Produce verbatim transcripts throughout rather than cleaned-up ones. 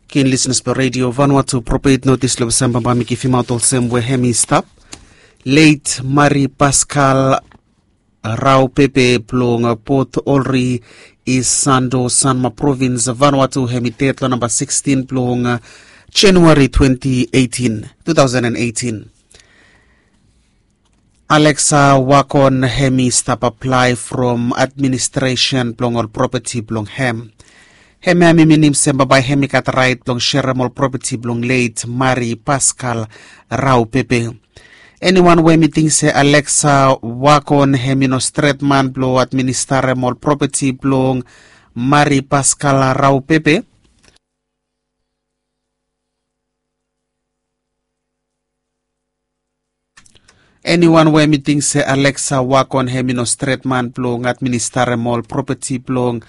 Ken lisnes blong redio vanua tu propet notis long olsem bambae mi givimaot olsem we hem i stap. Leit Mari Paskal Raupepe blong Port Olri i Sando, Sanma Provins, Vanuatu, hem i ded long namba sikstin blong Januari twenti eitin, two thousand and eitin. Alexa Wakon hem i stap aplae from administresen blong ol propeti blong hem. Hem ya mi minim se bambae hem i gat raet blong serem ol propeti blong leit Mari Paskal Raupepe. Eniwan we hem i ting se Alexa Wakon hem i no stret man blong administarem ol propeti blong Mari Paskal Raupepe. Eniwan we hem i ting se Alexa Wakon hem i no stret man blong administarem ol propeti blong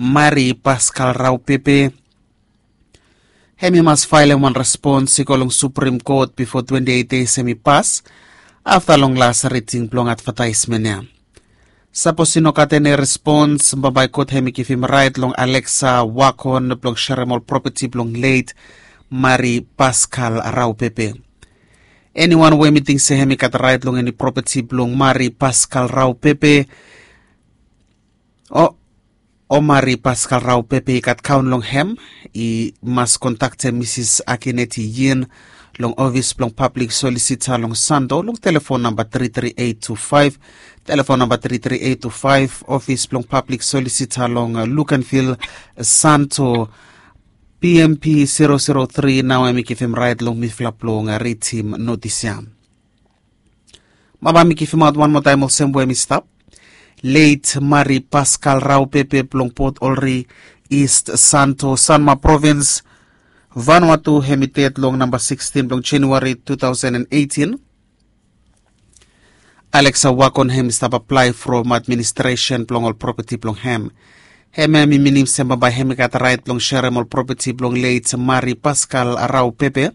Mari Paskal Raupepe, hem i mas faelem wan respons i go long Suprim Kot bifo twenti eit dei hem i pas, afta long las riting blong advataesmen ya. Sapos i no gat eni respons, bambae kot hem i givim raet long Alexa Wakon blong serem ol propeti blong leit Mari Paskal Raupepe. Eniwan we hem i ting se hem i gat raet long eni propeti blong Mari Paskal Raupepe, o o Mari Paskal Raupepe i gat kaon long hem, i mas kontaktem Misis Akineti Yin long ofis blong pablik solisita long Sando long telefon namba tri tri eit tu faef, telefon namba tri tri eit tu faef, ofis blong pablik solisita long Lukenvil, Santo, P M P zero zero three. Nao hem i givim raet long mifala blong ritim notis ya. Bambae mi givimaot wan moa taem olsem we hem i stap. Leit Mari Paskal Raupepe blong Port Olri, East Santo, Sanma Provins, Vanuatu, hem i ded long namba sikstin blong Januari two thousand and eitin. Alexa Wakon hem i stap aplae from administresen blong ol propeti blong hem. Hem ya mi minim se bambae hem i gat raet blong serem ol propeti blong leit Mari Paskal Raupepe.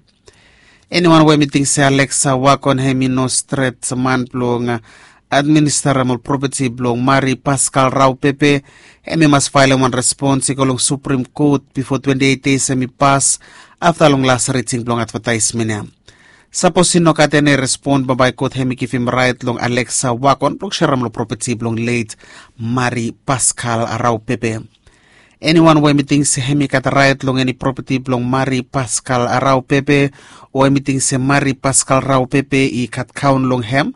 Eniwan we hem i ting se Alexa Wakon hem i no stret man blong administarem ol propeti blong Mari Paskal Raupepe, hem i mas faelem wan respons i go long Suprim Kot bifo twenti eit dei hem i pas, afta long las riting blong advataesmen ya. Sapos i no gat eni respons, bambae kot hem i givim raet long Alexa Wakon blong serem ol propeti blong leit Mari Paskal Raupepe. Eniwan we hem i ting se hem i gat raet long eni propeti blong Mari Paskal Raupepe, o hem i ting se Mari Paskal Raupepe i gat kaon long hem,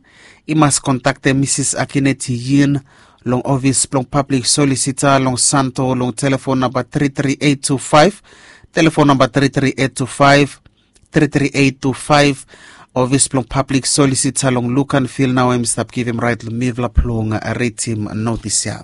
i mas kontaktem Misis Akineti Yin long ofis blong pablik solisita long Santo long telefon namba tri tri eit tu faef, telefon namba tri tri eit tu faef, tri tri eit tu faef, ofis blong pablik solisita long Lukenvil. Nao hem i stap givim raet long mifala blong ritim notis ya.